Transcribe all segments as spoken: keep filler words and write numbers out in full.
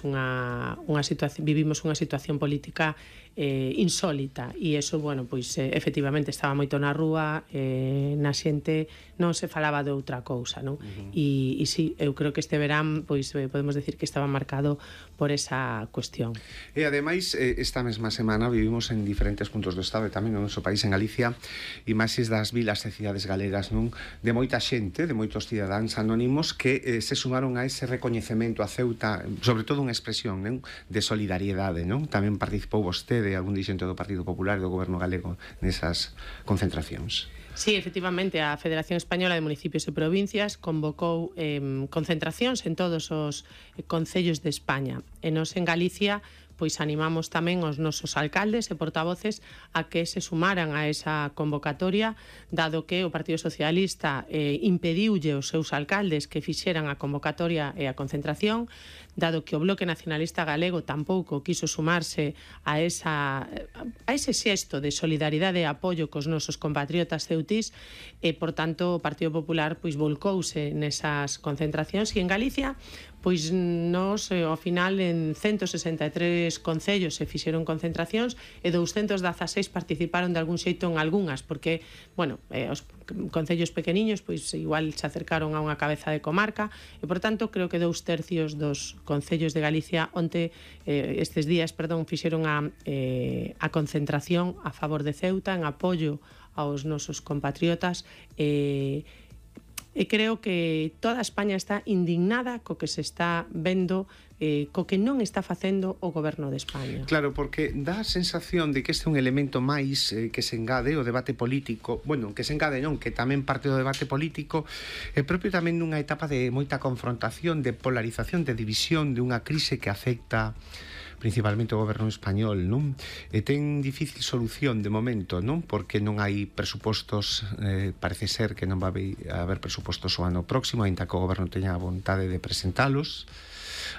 unha, unha situación, vivimos unha situación política eh, insólita e iso, bueno, pois eh, efectivamente estaba moito na rúa, eh, na xente non se falaba de outra cousa, non? Uh-huh. E, e sí, eu creo que este verán pois eh, podemos decir que estaba marcado por esa cuestión. E ademais, eh, esta mesma semana vivimos en diferentes puntos do Estado e tamén no noso país, en Galicia, imaxes das vilas e cidades galegas, non? De moita xente, de moitos cidadáns anónimos que eh, se sumaron a ese recoñecemento a Ceuta, sobre todo unha expresión, non? De solidariedade, non? Tamén participou vostede, algún dirixente do Partido Popular e do Goberno galego nesas concentracións. Sí, efectivamente, a Federación Española de Municipios e Provincias convocou eh, concentracións en todos os concellos de España. E nos en Galicia pois animamos tamén os nosos alcaldes e portavoces a que se sumaran a esa convocatoria, dado que o Partido Socialista eh, impediulle aos seus alcaldes que fixeran a convocatoria e a concentración, dado que o Bloque Nacionalista Galego tampouco quiso sumarse a, esa, a ese xesto de solidaridade e apoio cos nosos compatriotas ceutís, e, por tanto, o Partido Popular pois volcouse nesas concentracións, e en Galicia pois nos, ao final, en ciento sesenta e tres concellos se fixeron concentracións e douscentos dezaseis participaron de algún xeito en algunhas, porque, bueno, eh, os concellos pequeniños pois igual se acercaron a unha cabeza de comarca e, por tanto, creo que dous tercios dos concellos de Galicia onte, eh, estes días, perdón, fixeron a, eh, a concentración a favor de Ceuta en apoio aos nosos compatriotas e eh, E creo que toda España está indignada co que se está vendo, eh, co que non está facendo o Goberno de España. Claro, porque dá a sensación de que este é un elemento máis eh, que se engade o debate político, bueno, que se engade non, que tamén parte do debate político, é propio tamén nunha etapa de moita confrontación, de polarización, de división, de unha crise que afecta principalmente o goberno español, non? E ten difícil solución de momento, non? Porque non hai presupostos, eh, parece ser que non va a haber presupostos o ano próximo, aínda que o goberno teña a vontade de presentalos.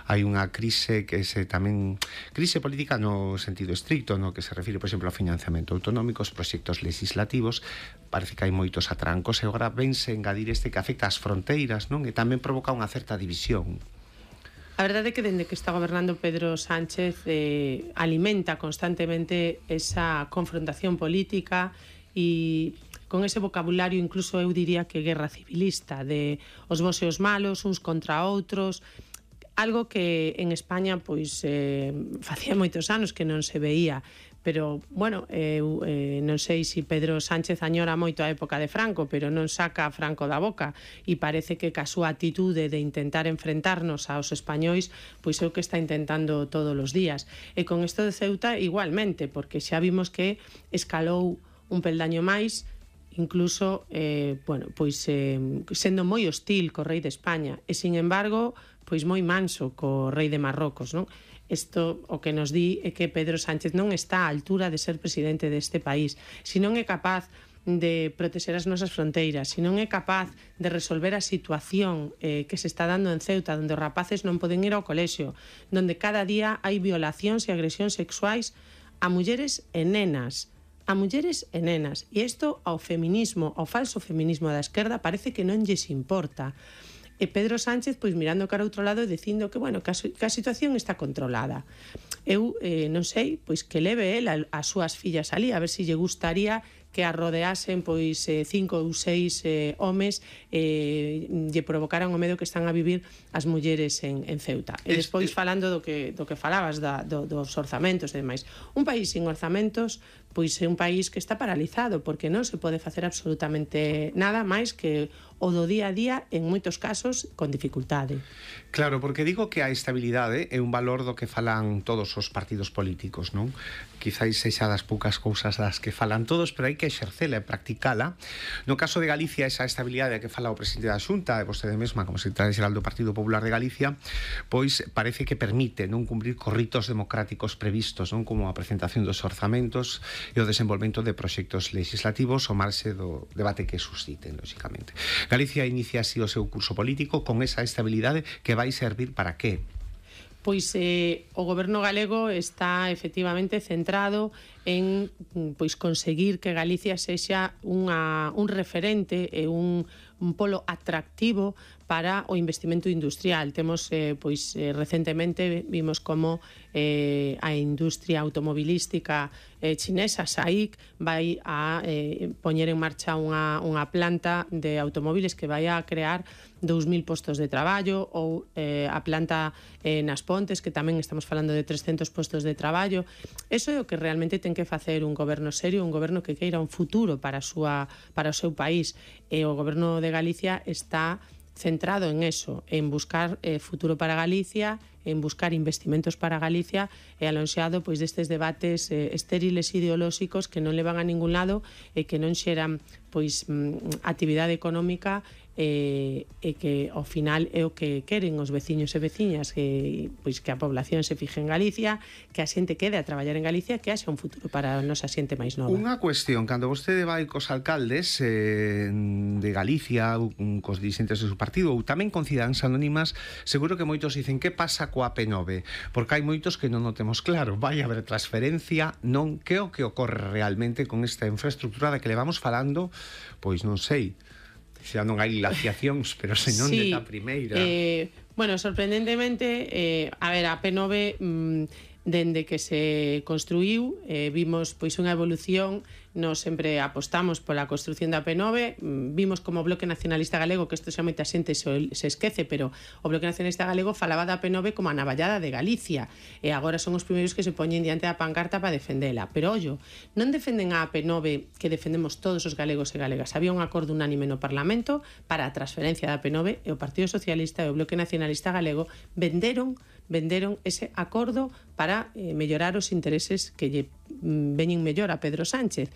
Hai unha crise que se tamén crise política no sentido estricto, no que se refire, por exemplo, ao financiamento autonómico, os proxectos legislativos. Parece que hai moitos atrancos e agora vense engadir este que afecta as fronteiras, non? E tamén provoca unha certa división. A verdade é que dende que está gobernando Pedro Sánchez eh, alimenta constantemente esa confrontación política e con ese vocabulario incluso eu diría que guerra civilista, de os bos e os malos, uns contra outros, algo que en España pois eh, facía moitos anos que non se veía. Pero, bueno, eu eh, non sei se Pedro Sánchez añora moito a época de Franco, pero non saca a Franco da boca e parece que ca súa atitude de intentar enfrentarnos aos españois pois é o que está intentando todos os días. E con isto de Ceuta igualmente, porque xa vimos que escalou un peldaño máis, incluso, eh, bueno, pois eh, sendo moi hostil co rei de España e, sin embargo, pois moi manso co rei de Marrocos, non? Isto o que nos di é que Pedro Sánchez non está á altura de ser presidente deste país. Se non é capaz de protexer as nosas fronteiras, se non é capaz de resolver a situación eh, que se está dando en Ceuta, onde os rapaces non poden ir ao colexio, onde cada día hai violacións e agresións sexuais a mulleres e nenas, a mulleres e nenas. E isto ao feminismo, ao falso feminismo da esquerda, parece que non lles importa. E Pedro Sánchez, pois mirando cara ao outro lado e dicindo que, bueno, que a, que a situación está controlada. Eu eh, non sei, pois que leve el a, as súas fillas ali, a ver se lle gustaría que a rodeasen pois eh, cinco ou seis eh, homes eh, lle provocaran o medo que están a vivir as mulleres en, en Ceuta. E despois falando do que, do que falabas da, do, dos orzamentos e demais. Un país sin orzamentos pois é un país que está paralizado, porque non se pode facer absolutamente nada máis que o do día a día, en moitos casos con dificultade. Claro, porque digo que a estabilidade é un valor do que falan todos os partidos políticos, non? Quizáis sexa das poucas cousas das que falan todos, pero hai que exercela e practicala. No caso de Galicia, esa estabilidade que fala o presidente da Xunta e vostede mesma como secretaria xeral do Partido Popular de Galicia, pois parece que permite non cumprir con ritos democráticos previstos, non, como a presentación dos orzamentos e o desenvolvemento de proxectos legislativos ao marxe do debate que susciten, lóxicamente. Galicia inicia así o seu curso político con esa estabilidade que vai servir para que? Pois eh, o goberno galego está efectivamente centrado en pois conseguir que Galicia sexa unha, un referente e un, un polo atractivo para o investimento industrial. Temos, eh, pois, eh, recentemente vimos como eh, a industria automobilística eh, chinesa, S A I C, vai a eh, poñer en marcha unha, unha planta de automóviles que vai a crear dous mil postos de traballo, ou eh, a planta eh, nas Pontes, que tamén estamos falando de trescentos postos de traballo. Eso é o que realmente ten que facer un goberno serio, un goberno que queira un futuro para, a súa, para o seu país. E o goberno de Galicia está centrado en eso, en buscar eh, futuro para Galicia, en buscar investimentos para Galicia e alonxado pois destes debates eh, estériles ideolóxicos que non levan a ningún lado e que non xeran pois actividade económica e, e que ao final é o que queren os veciños e veciñas, que pois que a población se fije en Galicia, que a xente quede a traballar en Galicia, que haxa un futuro para a nosa xente máis nova. Unha cuestión, cando vostede vai cos alcaldes eh, de Galicia, cos dirigentes do seu partido, ou tamén con Cidadanas Anónimas, seguro que moitos dicen que pasa coa P nove, porque hai moitos que non o temos claro, vai haber transferencia, non, que o que ocorre realmente con esta infraestructura da que le vamos falando, pois non sei, xa non hai glaciacións, pero senón sí, de ta primeira. Eh, bueno, sorprendentemente, eh, a ver, a P nove, mmm, dende que se construíu, eh, vimos pois unha evolución. Nos sempre apostamos pola construción da P nove, vimos como o Bloque Nacionalista Galego, que isto xa moita xente se, se esquece, pero o Bloque Nacionalista Galego falaba da P nove como a navallada de Galicia, e agora son os primeiros que se poñen diante da pancarta para defendela. Pero, ollo, non defenden a P nove que defendemos todos os galegos e galegas. Había un acordo unánime no Parlamento para a transferencia da P nove, e o Partido Socialista e o Bloque Nacionalista Galego venderon venderon ese acordo para eh, mellorar os intereses que lle mm, veñen mellor a Pedro Sánchez.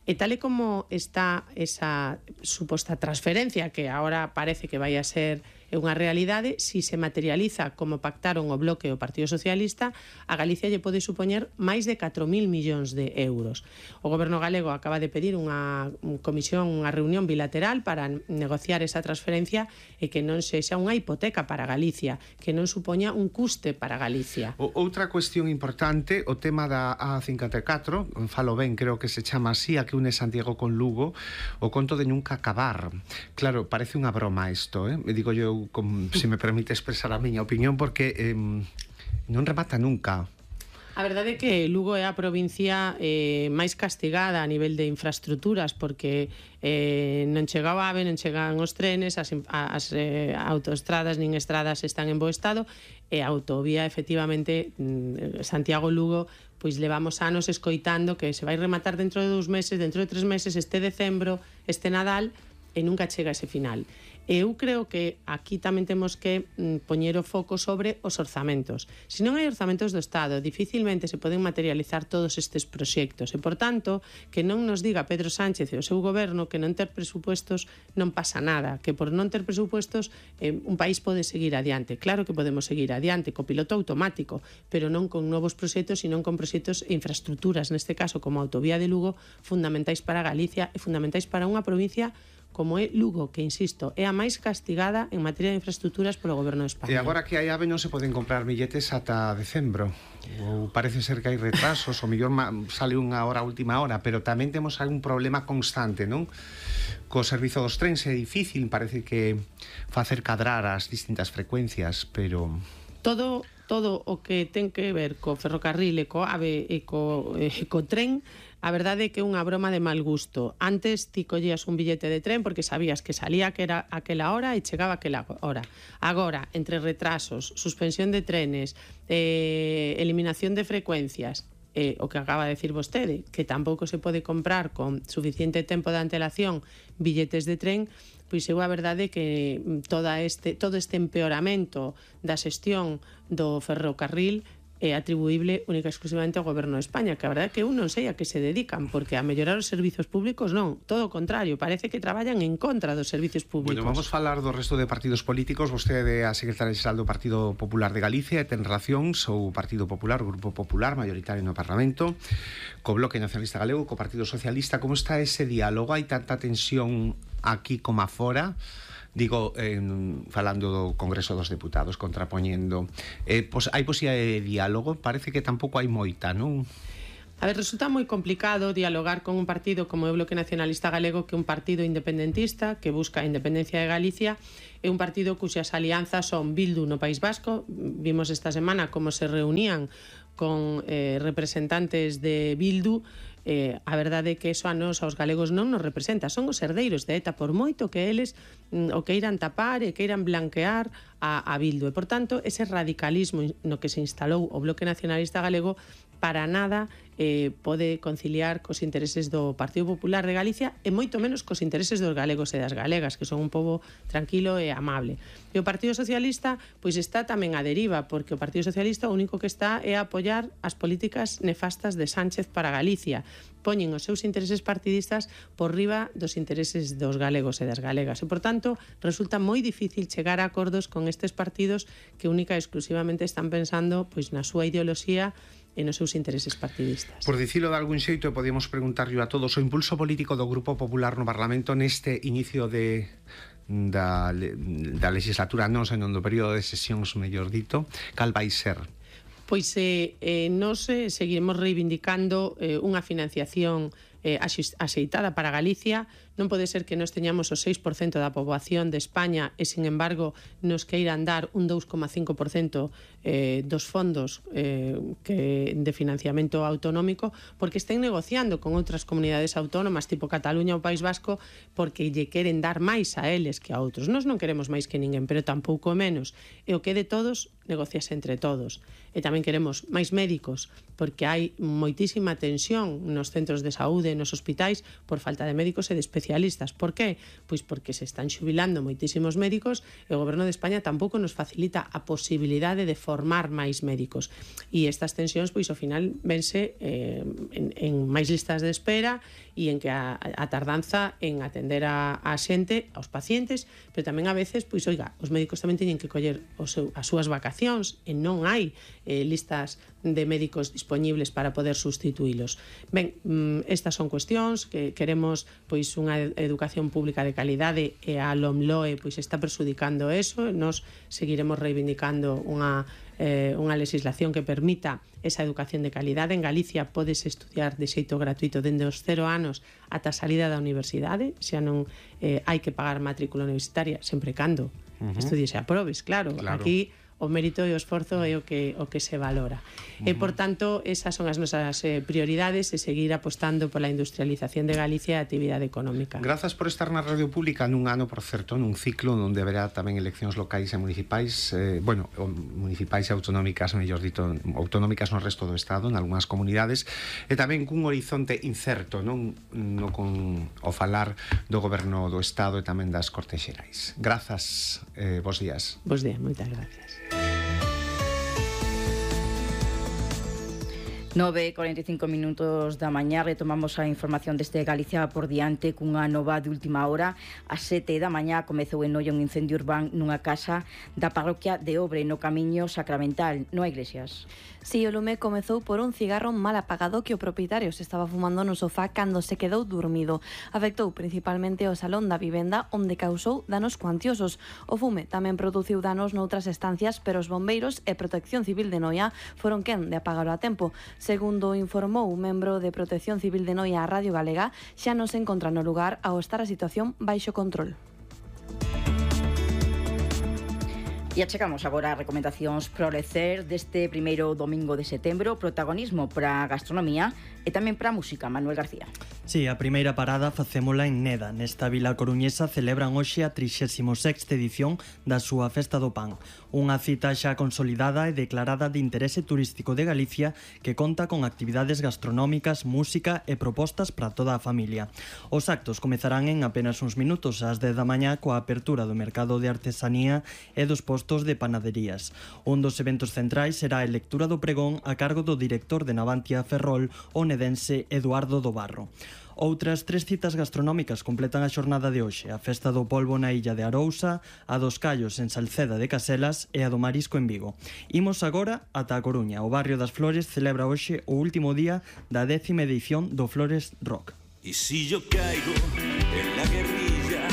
E tal e como está esa suposta transferencia, que agora parece que vai a ser unha realidade, si se materializa como pactaron o Bloque e o Partido Socialista, a Galicia lle pode supoñer máis de catro mil millóns de euros. O goberno galego acaba de pedir unha comisión, unha reunión bilateral para negociar esa transferencia e que non sexa unha hipoteca para Galicia, que non supoña un custe para Galicia. O, outra cuestión importante, o tema da A cincuenta e catro, falo ben, creo que se chama así, a que une Santiago con Lugo, o conto de nunca acabar. Claro, parece unha broma isto, eh? Me digo yo, como, se me permite expresar a miña opinión, porque eh, non remata nunca. A verdade é que Lugo é a provincia eh, máis castigada a nivel de infraestructuras, porque eh, non chega o AVE, non chegan os trenes, as, as eh, autoestradas nin estradas están en bo estado, e a autovía, efectivamente, Santiago-Lugo, pois levamos anos escoitando que se vai rematar dentro de dous meses, dentro de tres meses, este decembro, este Nadal, e nunca chega ese final. Eu creo que aquí tamén temos que mm, poñer o foco sobre os orzamentos. Se non hai orzamentos do Estado, dificilmente se poden materializar todos estes proxectos, e, por tanto, que non nos diga Pedro Sánchez e o seu goberno que non ter presupuestos non pasa nada, que por non ter presupuestos eh, un país pode seguir adiante. Claro que podemos seguir adiante co piloto automático, pero non con novos proxectos, sino con proxectos e infraestructuras, neste caso como a autovía de Lugo, fundamentais para Galicia e fundamentais para unha provincia como é Lugo, que, insisto, é a máis castigada en materia de infraestructuras polo goberno de España. E agora que hai AVE non se poden comprar billetes ata decembro. Ou parece ser que hai retrasos, ou mellor sale unha hora a última hora, pero tamén temos algún problema constante, non? Co servizo dos trens é difícil, parece que facer cadrar as distintas frecuencias, pero... Todo, todo o que ten que ver co ferrocarril e co AVE e co, e co tren, a verdade é que é unha broma de mal gusto. Antes ti collías un billete de tren porque sabías que salía que era aquela hora e chegaba aquela hora. Agora, entre retrasos, suspensión de trenes, eh, eliminación de frecuencias, eh, o que acaba de decir vostede, que tampouco se pode comprar con suficiente tempo de antelación billetes de tren, pois eu a verdade é que toda este, todo este empeoramento da xestión do ferrocarril é atribuíble única e exclusivamente ao goberno de España, que a verdade é que eu non sei a que se dedican, porque a mellorar os servizos públicos non, todo o contrario, parece que traballan en contra dos servizos públicos. Bueno, vamos falar do resto de partidos políticos. Vostede é a secretaria xeral do Partido Popular de Galicia e ten relacións o Partido Popular, o Grupo Popular mayoritario no Parlamento, co Bloque Nacionalista Galego, co Partido Socialista. Como está ese diálogo? Hai tanta tensión aquí como afora? Digo, eh, falando do Congreso dos Deputados, contrapoñendo, eh, pos, hai posibilidade de diálogo? Parece que tampouco hai moita, non? A ver, resulta moi complicado dialogar con un partido como o Bloque Nacionalista Galego, que é un partido independentista que busca a independencia de Galicia, é un partido cuxas alianzas son Bildu no País Vasco. Vimos esta semana como se reunían con eh, representantes de Bildu. Eh, a verdade é que eso a nos, aos galegos, non nos representa. Son os herdeiros de ETA, por moito que eles mm, o queiran tapar e queiran blanquear a, a Bildu. E, por tanto, ese radicalismo no que se instalou o Bloque Nacionalista Galego para nada eh, pode conciliar cos intereses do Partido Popular de Galicia e moito menos cos intereses dos galegos e das galegas, que son un pobo tranquilo e amable. E o Partido Socialista pois está tamén a deriva, porque o Partido Socialista o único que está é a apoiar as políticas nefastas de Sánchez para Galicia. Poñen os seus intereses partidistas por riba dos intereses dos galegos e das galegas. E, por tanto, resulta moi difícil chegar a acordos con estes partidos que única e exclusivamente están pensando pois na súa ideoloxía e nos seus intereses partidistas. Por dicilo de algún xeito, podíamos preguntarlle a todos o impulso político do Grupo Popular no Parlamento neste inicio de da, da legislatura, non senón do período de sesións, mellor dito, cal vai ser? Pois eh, eh, nos eh, seguiremos reivindicando eh, unha financiación eh, axeitada para Galicia. Non pode ser que nos teñamos o seis por cento da poboación de España e, sin embargo, nos queiran dar un dous coma cinco por cento eh, dos fondos eh, que, de financiamento autonómico, porque estén negociando con outras comunidades autónomas tipo Cataluña ou País Vasco, porque lle queren dar máis a eles que a outros. Nos non queremos máis que ninguén, pero tampouco menos. E o que de todos, negociase entre todos. E tamén queremos máis médicos, porque hai moitísima tensión nos centros de saúde, nos hospitais, por falta de médicos e de especialistas. Por qué? Pois porque se están xubilando moitísimos médicos e o Goberno de España tampouco nos facilita a posibilidade de formar máis médicos. E estas tensións, pois, ao final, vense eh, en, en máis listas de espera e en que a, a tardanza en atender a, a xente, aos pacientes, pero tamén a veces, pois, oiga, os médicos tamén teñen que coller o seu, as súas vacacións e non hai eh, listas de médicos disponibles para poder sustituílos. Ben, estas son cuestións que queremos, pois, unha educación pública de calidade e a LOMLOE pois está presudicando eso. Nos seguiremos reivindicando unha eh, unha legislación que permita esa educación de calidade. En Galicia podes estudiar de xeito gratuito dende os cero anos ata a salida da universidade, xa non eh, hai que pagar matrícula universitaria, sempre cando uh-huh. estudies e aprobes, claro. claro. Aquí o mérito e o esforzo é o que, o que se valora. Uh-huh. E, por tanto, esas son as nosas eh, prioridades e seguir apostando pola industrialización de Galicia e a actividade económica. Grazas por estar na Radio Pública nun ano, por certo, nun ciclo onde haberá tamén eleccións locais e municipais, eh, bueno, municipais e autonómicas, mellor dito, autonómicas no resto do Estado, en algunhas comunidades, e tamén cun horizonte incerto, non no con o falar do Goberno do Estado e tamén das Cortes Xerais. Grazas, eh, bos días. Bos días, moitas gracias. nove e cuarenta e cinco minutos da mañá, retomamos a información deste Galicia por diante cunha nova de última hora. A sete da mañá comezou en Noia un incendio urbán nunha casa da parroquia de Obre, no Camiño Sacramental, no Iglesias. Si, o lume comezou por un cigarro mal apagado que o propietario se estaba fumando no sofá cando se quedou dormido. Afectou principalmente o salón da vivenda, onde causou danos cuantiosos. O fume tamén produciu danos noutras estancias, pero os bombeiros e Protección Civil de Noia foron quen de apagalo a tempo. Segundo informou un membro de Protección Civil de Noia a Radio Galega, xa non se encontra no lugar ao estar a situación baixo control. E achegamos agora as recomendacións para o lecer deste primeiro domingo de setembro. Protagonismo para a gastronomía e tamén para a música. Manuel García. Sí, a primeira parada facémola en Neda. Nesta vila coruñesa celebran hoxe a trixésima sexta edición da súa Festa do Pan. Unha cita xa consolidada e declarada de interese turístico de Galicia que conta con actividades gastronómicas, música e propostas para toda a familia. Os actos comezarán en apenas uns minutos ás dez da mañá coa apertura do mercado de artesanía e dos postos de panaderías. Un dos eventos centrais será a lectura do pregón a cargo do director de Navantia Ferrol, o nedense Eduardo do Barro. Outras tres citas gastronómicas completan a xornada de hoxe: a Festa do Polvo na illa de Arousa, a dos Callos en Salceda de Caselas e a do Marisco en Vigo. Imos agora ata a Coruña. O barrio das Flores celebra hoxe o último día da décima edición do Flores Rock. Y si yo caigo en la guerrilla,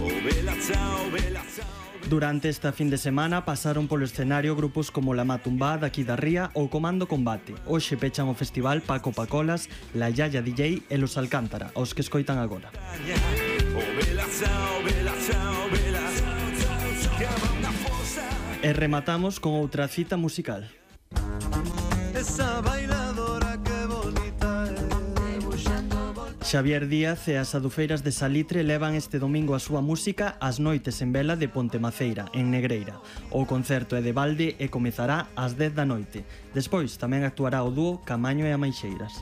oh vela chao, vela chao. Durante esta fin de semana pasaron polo escenario grupos como La Matumbá, daqui da Ría ou Comando Combate. Hoxe pechan o festival Paco Pacolas, La Yaya D J e Los Alcántara, os que escoitan agora. E rematamos con outra cita musical. Esa bailadora que bonita é. Xavier Díaz e as adufeiras de Salitre levan este domingo a súa música ás noites en vela de Ponte Maceira, en Negreira. O concerto é de balde e comezará ás dez da noite. Despois tamén actuará o dúo Camaño e Amaixeiras.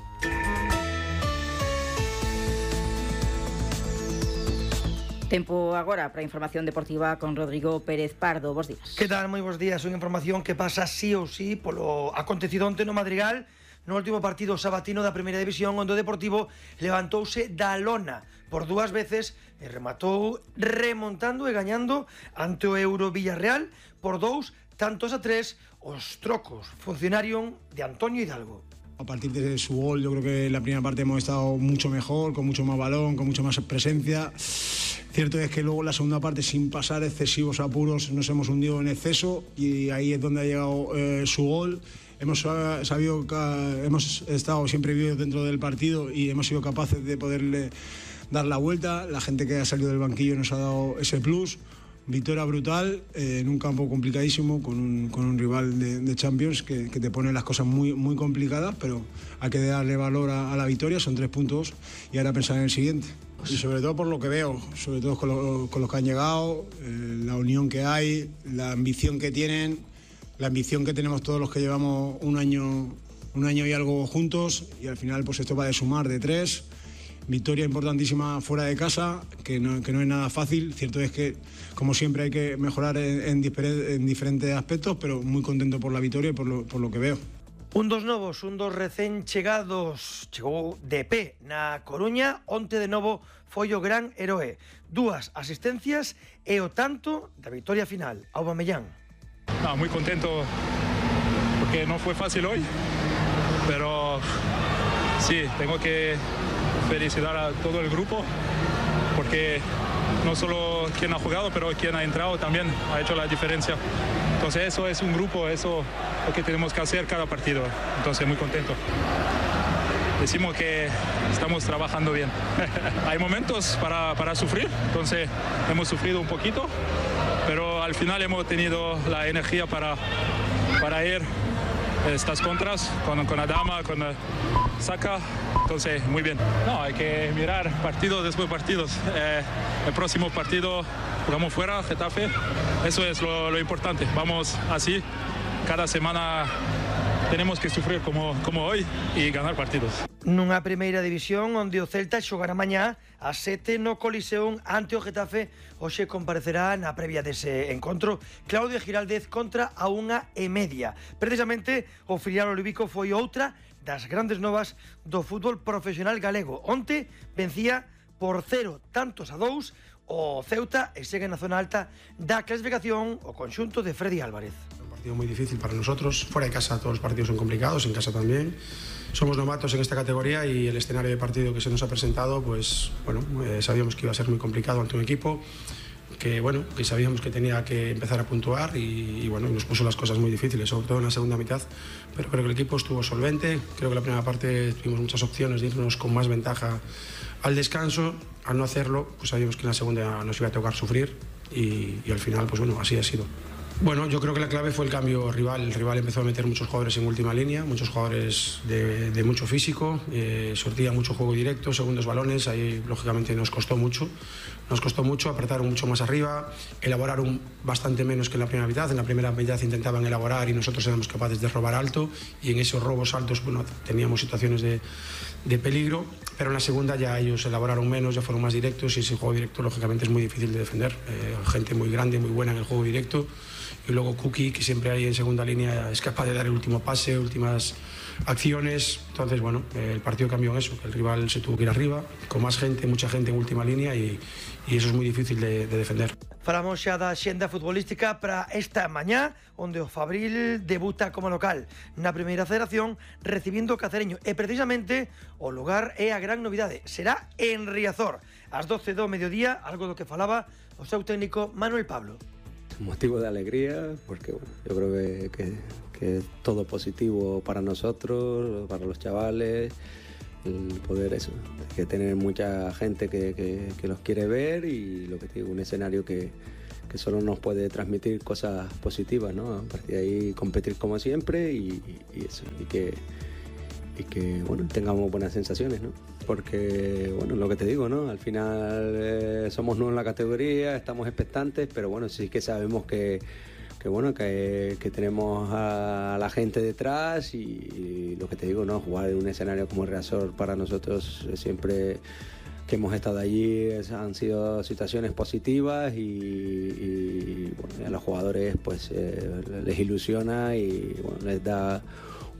Tempo agora para a información deportiva con Rodrigo Pérez Pardo. Bos días. Que tal? Moi bos días. Unha información que pasa sí ou sí polo acontecido onte no Madrigal, no último partido sabatino da Primeira División, onde o Deportivo levantouse da lona por dúas veces e rematou remontando e gañando ante o Euro Villarreal por dous tantos a tres. Os trocos funcionaron de Antonio Hidalgo. A partir de su gol, yo creo que en la primera parte hemos estado mucho mejor, con mucho más balón, con mucho más presencia. Cierto es que luego en la segunda parte, sin pasar excesivos apuros, nos hemos hundido en exceso y ahí es donde ha llegado eh, su gol. Hemos sabido que hemos estado siempre vivos dentro del partido y hemos sido capaces de poderle dar la vuelta. La gente que ha salido del banquillo nos ha dado ese plus. Victoria brutal, eh, en un campo complicadísimo, con un, con un rival de, de Champions que, que te pone las cosas muy, muy complicadas, pero hay que darle valor a, a la victoria, son tres puntos y ahora pensar en el siguiente. Y sobre todo por lo que veo, sobre todo con, lo, con los que han llegado, eh, la unión que hay, la ambición que tienen, la ambición que tenemos todos los que llevamos un año, un año y algo juntos, y al final pues esto va de sumar de tres. Victoria importantísima fuera de casa, que no, que no es nada fácil. Cierto es que, como siempre, hay que mejorar en, en, diferentes, en diferentes aspectos, pero muy contento por la victoria y por lo, por lo que veo. Un dos novos, un dos recén chegados, chegou de pé na Coruña, onte de novo foi o gran heroe. Dúas asistencias e o tanto da victoria final, Aubameyang. No, muy contento porque no fue fácil hoy, pero sí, tengo que felicitar a todo el grupo porque no solo quien ha jugado, pero quien ha entrado también ha hecho la diferencia. Entonces eso es un grupo, eso es lo que tenemos que hacer cada partido. Entonces muy contento. Decimos que estamos trabajando bien. Hay momentos para, para sufrir, entonces hemos sufrido un poquito, pero al final hemos tenido la energía para, para ir estas contras con, con Adama, con Saka, entonces muy bien. No, hay que mirar partido después de partidos. Eh, el próximo partido jugamos fuera, Getafe, eso es lo, lo importante. Vamos así, cada semana tenemos que sufrir como, como hoy y ganar partidos. Nunha primeira división onde o Celta xogará mañá a sete no Coliseum ante o Getafe. Hoxe comparecerá na previa dese encontro Claudio Giraldez contra a unha e media. Precisamente o filial olivico foi outra das grandes novas do fútbol profesional galego. Onte vencía por cero tantos a dous o Ceuta e segue na zona alta da clasificación o conxunto de Freddy Álvarez. Un partido muy difícil para nosotros. Fuera de casa todos los partidos son complicados, en casa también. Somos novatos en esta categoría y el escenario de partido que se nos ha presentado, pues bueno, eh, sabíamos que iba a ser muy complicado ante un equipo que bueno, que sabíamos que tenía que empezar a puntuar y, y bueno, nos puso las cosas muy difíciles, sobre todo en la segunda mitad, pero creo que el equipo estuvo solvente. Creo que la primera parte tuvimos muchas opciones de irnos con más ventaja al descanso. Al no hacerlo, pues sabíamos que en la segunda nos iba a tocar sufrir y, y al final, pues bueno, así ha sido. Bueno, yo creo que la clave fue el cambio rival. El rival empezó a meter muchos jugadores en última línea, muchos jugadores de, de mucho físico, eh, sortía mucho juego directo, segundos balones, ahí lógicamente nos costó mucho. Nos costó mucho, apretaron mucho más arriba, elaboraron bastante menos que en la primera mitad. En la primera mitad intentaban elaborar y nosotros éramos capaces de robar alto y en esos robos altos, bueno, teníamos situaciones de, de peligro, pero en la segunda ya ellos elaboraron menos, ya fueron más directos y ese juego directo lógicamente es muy difícil de defender. Eh, gente muy grande, muy buena en el juego directo. Y luego Kuki, que siempre hay en segunda línea, es capaz de dar el último pase, últimas acciones. Entonces, bueno, el partido cambió en eso, que el rival se tuvo que ir arriba, con más gente, mucha gente en última línea y, y eso es muy difícil de, de defender. Falamos xa da xenda futbolística para esta mañá, onde o Fabril debuta como local na primeira federación, recibindo o Cacereño. E precisamente o lugar é a gran novidade, será en Riazor, ás doce do mediodía, algo do que falaba o seu técnico Manuel Pablo. motivo de alegría, porque bueno, yo creo que, que, que es todo positivo para nosotros, para los chavales, el poder eso, que tener mucha gente que, que, que los quiere ver y lo que te digo, un escenario que, que solo nos puede transmitir cosas positivas, ¿no? A partir de ahí competir como siempre y, y eso, y que, y que bueno, tengamos buenas sensaciones, ¿no? Porque, bueno, lo que te digo, ¿no? Al final eh, somos nuevos en la categoría, estamos expectantes, pero bueno, sí que sabemos que que bueno, que, que tenemos a la gente detrás y, y lo que te digo, ¿no? Jugar en un escenario como el Riazor para nosotros siempre que hemos estado allí es, han sido situaciones positivas y, y bueno, a los jugadores pues eh, les ilusiona y bueno, les da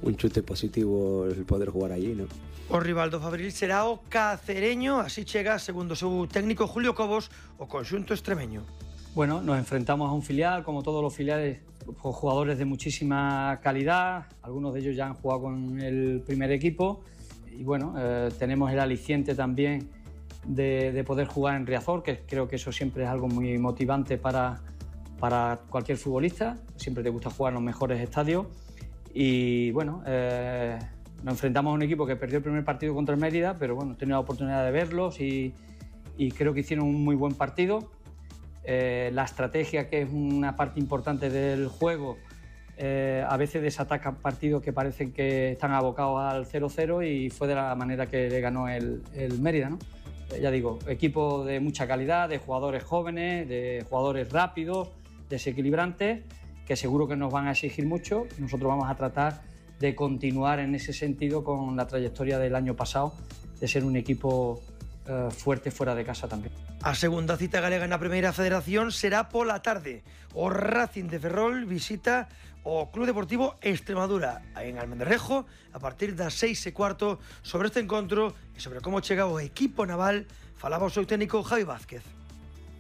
un chute positivo el poder jugar allí, ¿no? O rival do Fabril será o Cacereño, así chega, segundo seu técnico Julio Cobos, o conxunto extremeño. Bueno, nos enfrentamos a un filial, como todos los filiales, con jugadores de muchísima calidad, algunos de ellos ya han jugado con el primer equipo y bueno, eh, tenemos el aliciente también de, de poder jugar en Riazor, que creo que eso siempre es algo muy motivante para, para cualquier futbolista, siempre te gusta jugar en los mejores estadios y bueno, eh, nos enfrentamos a un equipo que perdió el primer partido contra el Mérida, pero bueno, he tenido la oportunidad de verlos y, y creo que hicieron un muy buen partido. Eh, la estrategia, que es una parte importante del juego, eh, a veces desataca partidos que parecen que están abocados al cero cero y fue de la manera que le ganó el, el Mérida, ¿no? Eh, ya digo, equipo de mucha calidad, de jugadores jóvenes, de jugadores rápidos, desequilibrantes, que seguro que nos van a exigir mucho. Nosotros vamos a tratar de continuar en ese sentido con la trayectoria del año pasado, de ser un equipo eh, fuerte fuera de casa también. A segunda cita galega na Primeira Federación será pola tarde. O Racing de Ferrol visita o Club Deportivo Extremadura en Almendralejo a partir das seis e cuarto. Sobre este encontro e sobre como chega o equipo naval falaba o seu técnico Javi Vázquez.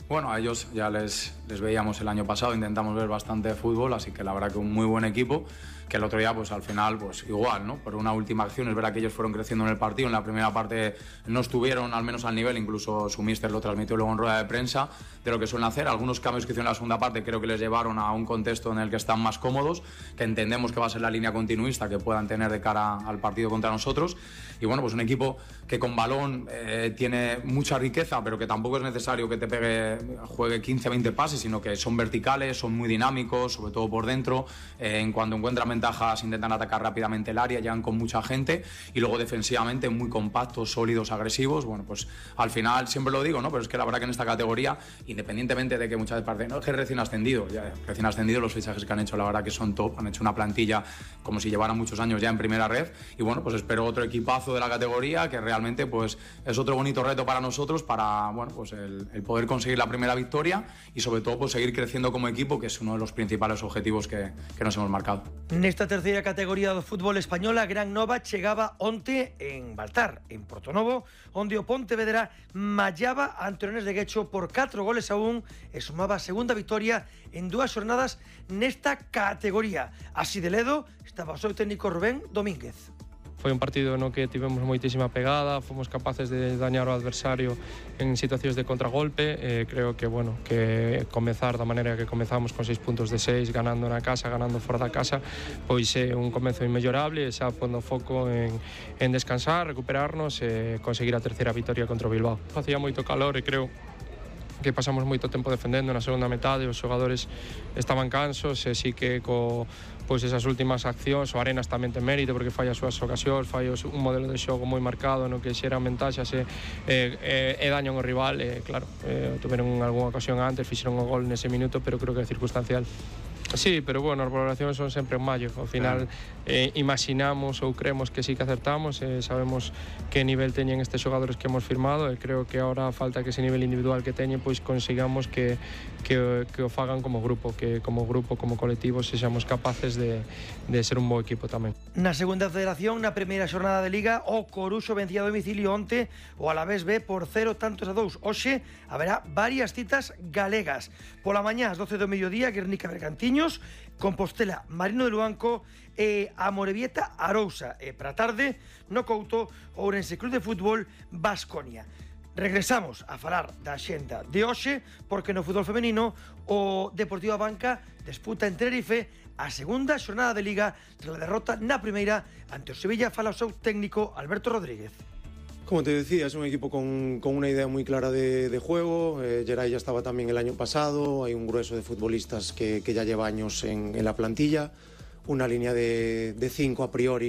Bueno, a ellos ya les, les veíamos el año pasado, intentamos ver bastante fútbol, así que la verdad que un muy buen equipo, que el otro día pues al final pues igual, ¿no? Por una última acción, es verdad que ellos fueron creciendo en el partido, en la primera parte no estuvieron al menos al nivel, incluso su míster lo transmitió luego en rueda de prensa, de lo que suelen hacer. Algunos cambios que hicieron en la segunda parte creo que les llevaron a un contexto en el que están más cómodos, que entendemos que va a ser la línea continuista que puedan tener de cara al partido contra nosotros. Y bueno, pues un equipo que con balón eh, tiene mucha riqueza, pero que tampoco es necesario que te pegue, juegue quince a veinte pases, sino que son verticales, son muy dinámicos, sobre todo por dentro. Eh, en cuanto encuentran ventajas intentan atacar rápidamente el área, llegan con mucha gente y luego defensivamente muy compactos, sólidos, agresivos. Bueno, pues al final siempre lo digo, ¿no? Pero es que la verdad que en esta categoría, independientemente de que muchas veces parece, no, es que recién ascendido, ya, recién ascendido, los fichajes que han hecho la verdad que son top, han hecho una plantilla como si llevaran muchos años ya en primera red y bueno, pues espero otro equipazo de la categoría que realmente pues es otro bonito reto para nosotros para, bueno, pues el, el poder conseguir la primera victoria y sobre todo pues seguir creciendo como equipo, que es uno de los principales objetivos que, que nos hemos marcado. Nesta terceira categoría do fútbol español, a Gran Nova chegaba onte en Baltar, en Portonovo, onde o Pontevedra mallaba ante o Leganés de Guecho por catro goles a un e sumaba a segunda victoria en dúas xornadas nesta categoría. Así de ledo estaba o seu técnico Rubén Domínguez. Foi un partido no que tivemos moitísima pegada, fomos capaces de dañar ao adversario en situacións de contragolpe. Eh, creo que, bueno, que comezar da maneira que comezamos con seis puntos de seis, ganando na casa, ganando fora da casa, pois é un comezo inmellorable, e xa pondo foco en, en descansar, recuperarnos e conseguir a terceira victoria contra o Bilbao. Facía moito calor e creo que pasamos moito tempo defendendo na segunda metade, os xogadores estaban cansos e sí que co pois esas últimas accións, o Arenas tamén ten mérito porque fai as súas ocasións, fai un modelo de xogo moi marcado no que xeran ventaxas e, e, e dañan o rival e claro, eh, tuveron algunha ocasión antes, fixeron o gol nese minuto, pero creo que é circunstancial. Sí, pero bueno, as valoracións son sempre en maio. Ao final eh, imaginamos ou creemos que sí que acertamos, eh, sabemos que nivel teñen estes xogadores que hemos firmado e creo que ahora falta que ese nivel individual que teñen pois consigamos que, que, que o fagan como grupo, que como grupo, como colectivo sexamos capaces de, de ser un bo equipo tamén. Na segunda federación, na primeira xornada de Liga, o Coruxo vencía a domicilio onte o Alavés B por cero tantos a dous. Hoxe haberá varias citas galegas. Pola mañá, ás doce do mediodía, Guernica Bergantiños, Compostela, Marino de Luanco e Amorebieta, Arousa. E para tarde, no Couto, Ourense Club de Fútbol, Baskonia. Regresamos a falar da xenda de hoxe, porque no fútbol femenino o Deportivo Abanca disputa en Tenerife a segunda xornada de Liga tras a derrota na primeira ante o Sevilla. Fala o seu técnico Alberto Rodríguez. Como te decía, es un equipo con, con una idea muy clara de, de juego. Eh, Geray ya estaba también el año pasado. Hay un grueso de futbolistas que, que ya lleva años en, en la plantilla. Una línea de, de cinco a priori